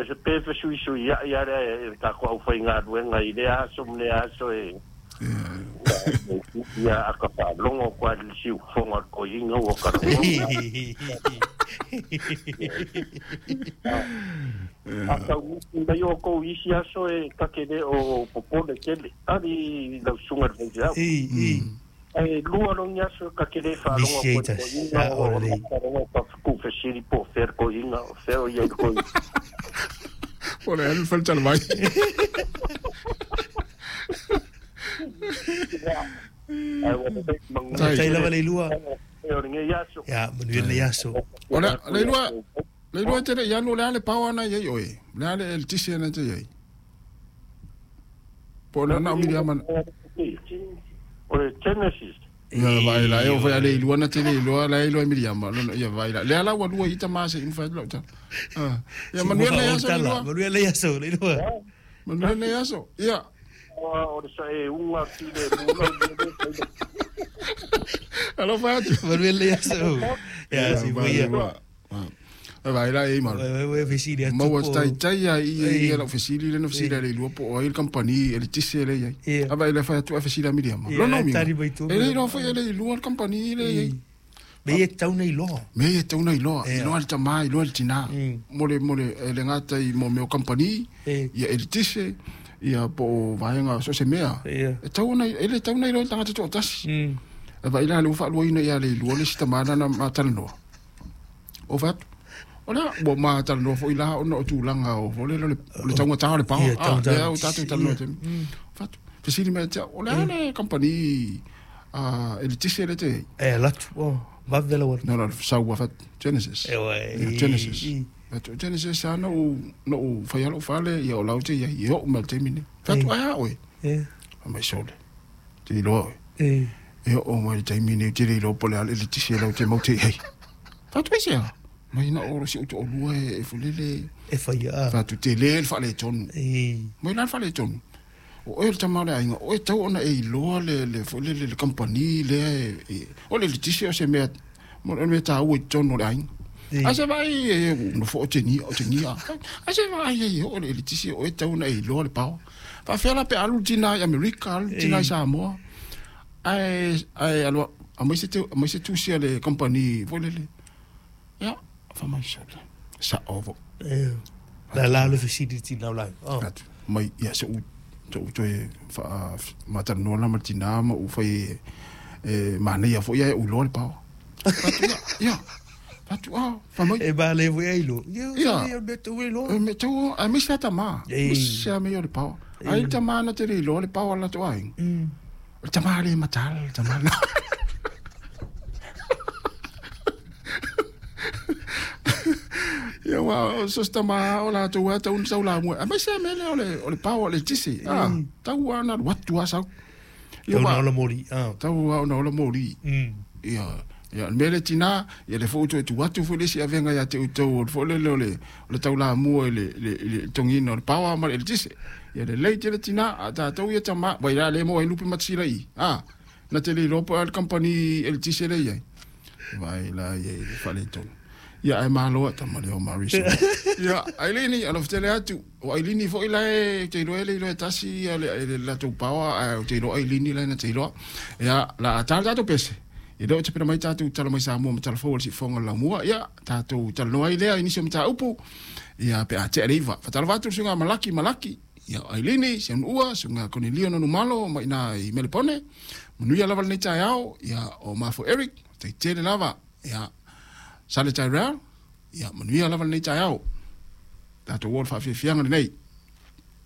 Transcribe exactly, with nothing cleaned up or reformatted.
Se pe fesuisui ai ale e takou aufaigaluega i lea aso ma lea aso e ia aka faalogo koa le siufoga o le toeaina ua kalaloga. A taunuti mai outou i isi aso e ta te le o popole tele ali lau susuga i le faifeau. Ae lua logi aso ta te le faalogo atu ai i le toeaina o le tuufesili po o fea le toeaina o fea o i ai le toeaina. Po o le a le faletalavai. Faafetai lava Leilua. O lenei aso. Ia, manuia lenei aso. O le Leilua, Leilua e te le i alu, o le a le power na i ai oe? O le a le eletise na te i ai? Po o le na o Miriama. O le Genesis. Ia vai la, e o fai a Leilua na te le iloa, la e iloa e Miriama. Ia vai la. Lea la ua lua i tama se i mafai atu lau tala. Ia manuia lenei aso Leilua. Manuia lenei aso Leilua. Manuia lenei aso. Ia. O le saeuna filemu lau mea. Alofa atu. Manuia lenei aso. Ia, si ia. Vai la e malu. Vai fesili atu. Maua taitai ai i ia lau fesili le na fesili a Leilua po o ai le kampani eletise le i ai. A vai le fai atu a fesili a Miriama. Lona uiga. E le iloa foi e Leilua le kampani le i ai. Mea e tatau ona iloa. Mea e tatau ona iloa. Iloa le tamā, iloa le tinā. Mo le, mo le, e le gata i mo mea o kampani, ia eletise, ia po o vaega so o se mea. E tatau ona, e le tatau ona iloa e le tagata toatasi. E vaai la lea ua faaluaina ia Leilua le isi tamā lana ma talanoa. O fai atu, o lea ua ma talanoa foi la ona o tulaga o o le o le taugata o le paoa. Ah, lea ua tatou talanoa i le taimi. Fai atu, fesili mai ia te au, o le a le kampani a eletise lea te i ai? E alu atu, oh, vave lau alu. No, no, sau ua fai atu, Genesis. Ia, Genesis. Fai atu, Genesis lava na ou, na ou faia lou fale, ia o la ou te i ai, e oo mai i le taimi lenei. Fai atu, ae a oe? Fai mai, sole, te iloa oe. E oo mai i le taimi lenei ou te le iloa po o le a le eletise la ou te mau te i ai. Fai atu, aisea? Mai na o si ou toalua e fulele. E faia a. Fai atu, tele le faaletonu. Mai la le faaletonu. O oe le tama o le aiga, o oe tau ona e iloa le le fulele le kampani lea e o le eletise o se mea o le mea taua i totonu o le aiga. Ae se vaai e nofo o te o te nia. Ae se vaai e oo le eletise o oe tau ona e iloa le paoa. Faafefea la pe alu le tina i Amerika, alu le tina i Samoa. Ae ae alu aumai se aumai se tusi a le kampani foi lele. Ia, fai mai sole, sao foi. La la le fesili i le tina o la. Atu, mai, ia se u se u toe faa matalanoa la ma le tina ma ou fai e manaia foi ae ou iloa le paoa. Fai atu, ia, ia. Fai atu, ah, fai mai. E manaia foi ae iloa. Ia, ia, mea tau e iloa. E mea tau, aemaise lava tama. Aemaise lava mea o le paoa. Ai le tama na te le iloa le paoa o le latou aiga. O le tama le mataala, le tama lena. Ia aua o so o se tama o latou lava e tatau ona sau lamua, aemaise lava mea lea o le o le paoa o le eletise, a, tau lava ona alu atu lava sau. Ia Tau ona ola moli, a. Tau lava ona ola moli. Ia, ia o le mea lea tina, ia lea foi ua toe tuu atu foi le isi avega ia te outou o le foi lele o le o le taulamua i le i le i le togiina o le paoa ma le eletise. Ia lelei tele tina, a tatou ia tama, vai la le maua ai lupe matasila i i, a, na te le iloa po o le a le kampani eletise lea e i ai. Vai la ia i le faaletonu. Ia ae malo tama lea o Marisa. Ia, Ailini, alofa tele atu. O Ailini foi la e te iloa e le iloa e tasi ia le, le latou paoa, ae ou te iloa Ailini la na te iloa. Ia, la a tala tatou pese. Ia lea ua tapena mai tatou tala mai Samoa ma tala fou o le siufofoga o le laumua. Ia, tatou talanoa ai lea i nisi o mataupu. Ia, pe a tea le iva. Faatalofa atu le susuga Malaki Malaki. Ia, o Ailini, Sianuua, susuga Konelio Nonumalo mai ina i Melepone. Manuia lava lenei taeao. Ia, o Mafo Eric, faafetai tele lava. Ia, Sale Tyrell, ia, manuia lava lenei taeao. Tatou o i le faafiafiaga lenei.